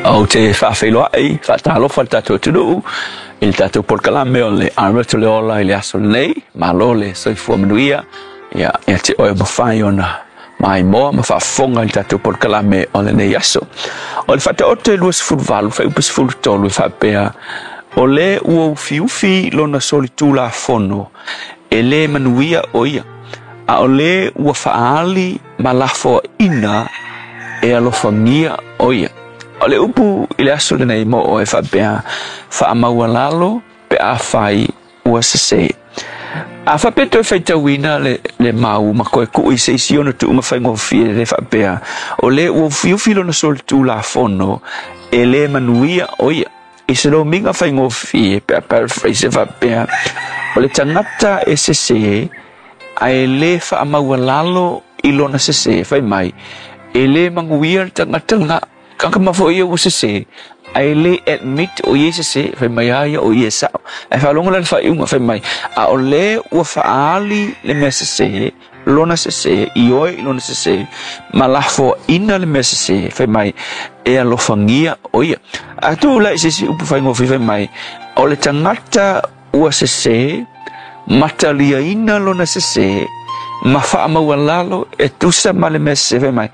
Ou te faafeiloai, faatalofa i le tatou atunuu i le tatou polokalame o le Aroto le Ola i le aso lenei. Malo le soifua manuia ia ia te oe mafai ona maimoa ma faafofoga i le tatou polokalame o lenei aso. O le Faataoto e 28 fuaiupu 13 e faapea, O le ua ufiufi lona solitulafono e lē manuia o ia, a o le ua faaali ma lafoaina e alofagia o ia. O le upu i le aso lenei mo oe e faapea, faamaualalo pe afai ua sesē. A faapea toe faitauina le, le mau ma toe tuu i se isi ona tuuga faigofie le faapea, o le ua ufiufi lona solitulafono e lē manuia o ia. I se lomiga faigofie pe a paraphrase e faapea, o le tagata e sesē ae lē faamaualalo i lona sesē, fai mai, e lē manuia le tagata lena. Kakama foi ia ua sesē ae lē admit o ia i sesē, fai mai a ia o ia e sao. Ae faalogo la i le faaiuga, fai mai, a o lē ua faaali le mea sesē, lona sesē, ioe i lona sesē, ma lafoaina le mea sesē, fai mai, e alofagia o ia. A tuu la i se isi upu faigofie, fai mai, o le tagata ua sesē, ma taliaina lona sesē, ma faamaualalo e tusa ma le mea sesē, fai mai,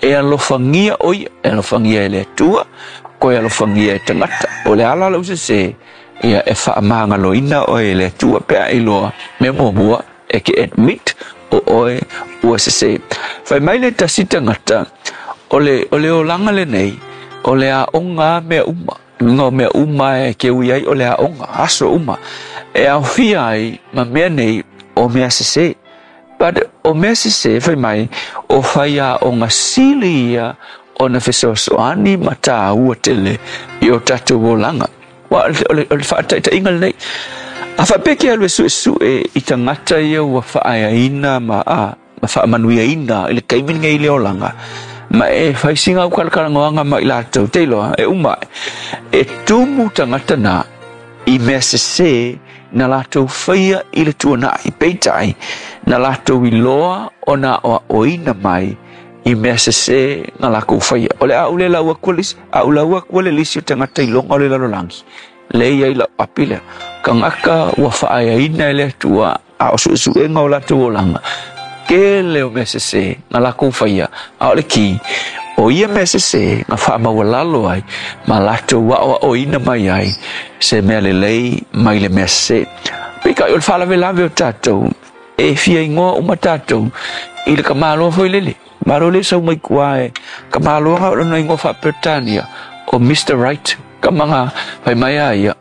e alofagia o ia, e alofagia e le Atua, toe alofagia e tagata. O le ala lou sesē, ia e faamagaloina oe e le Atua pe a iloa mea muamua, e ke admit o oe ua sesē. Fai mai le tasi tagata, o le, o le olaga lenei, o le aoga a mea uma. Luga o mea uma e ke ui ai o le aoga, aso uma. E aofia ai ma mea nei o mea sesē. But o mea sesē, fai mai, o faiaoga sili ia ona fesoasoani ma tāua tele i o tatou olaga. Ua o le, o le faataitaiga lenei. A faapea ke alu e suesue i tagata ia ua faaeaina ma, a, ma faamanuiaina i le taimi lenei i le olaga, ma e fai sina ukalakalanoaga ma i latou, te iloa, e uma ae, e tumu tagata na i mea sesē na latou faia i le tuanai, peitai, na latou iloa ona aoaoina mai i mea sesē na lakou faia. O le a ou le lau aku le lisi, a ou lau aku le lisi o tagata iloga o le lalolagi, le i ai lau api lea. Tagata ua faaeaina e le Atua a o suesuega o latou olaga, tele o mea sesē na lakou faia, a o le kī, o ia mea sesē na faamaualalo ai ma latou aoaoina mai ai se mea lelei mai le mea sesē. Peitai o le faalavelave o tatou, E fia igoa uma tatou i le tamaloa foi lele. Malo le sau mai tua e tamaloa na o lona igoa faa-Peretania o Mister Right. Tama na fai mai a ia,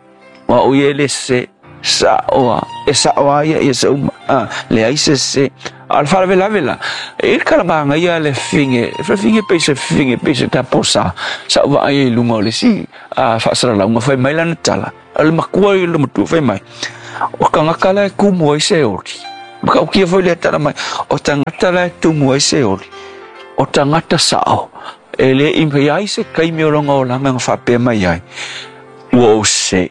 o au ia e le sese, sao a, e sao a ia ia se uma, a, leai se sese. A o le faalavelave la, e i le kalamaga ia le fine, fine pei se fine, pei se taposa, sa ou vaai ai i luga o le isi faasalalauga, fai mai lana tala, O le matua ia o le matua fai mai, o tagata la e tumu ai se oli. Matautia foi lea tala mai, o tagata la e tumu ai se oli, o tagata sao, e le i ai se taimi o lona olaga na faapea mai ai, ua ou sese.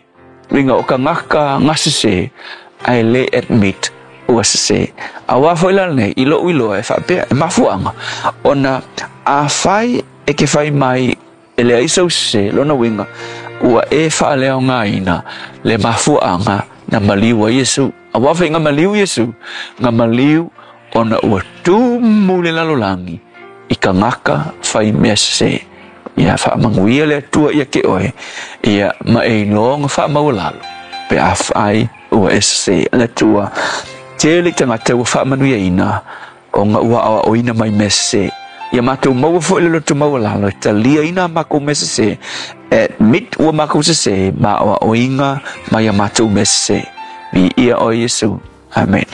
Uiga o tagata na sese, ae le admit ua sese. Aua foi la lenei, i lou iloa e faapea, e mafuaaga, ona afai e ke fai mai E leai sou sese, lona uiga, ua e faaleaogaina le mafuaaga na maliu ai Iesu. Aua foi na maliu Iesu, na maliu ona ua tumu le lalolagi i tagata fai mea sese. Ia faamanuia le Atua ia te oe, ia ma e iloa ona faamaualalo pe afai ua e sese. Le Atua, tele tagata ua faamanuiaina ona ua aoaoina mai mea sese. Ia matou maua foi le loto maualalo e taliaina a makou mea sese, admit ua makou sese ma aoaoina mai a matou mea sese. Viia oe Iesu. Amen.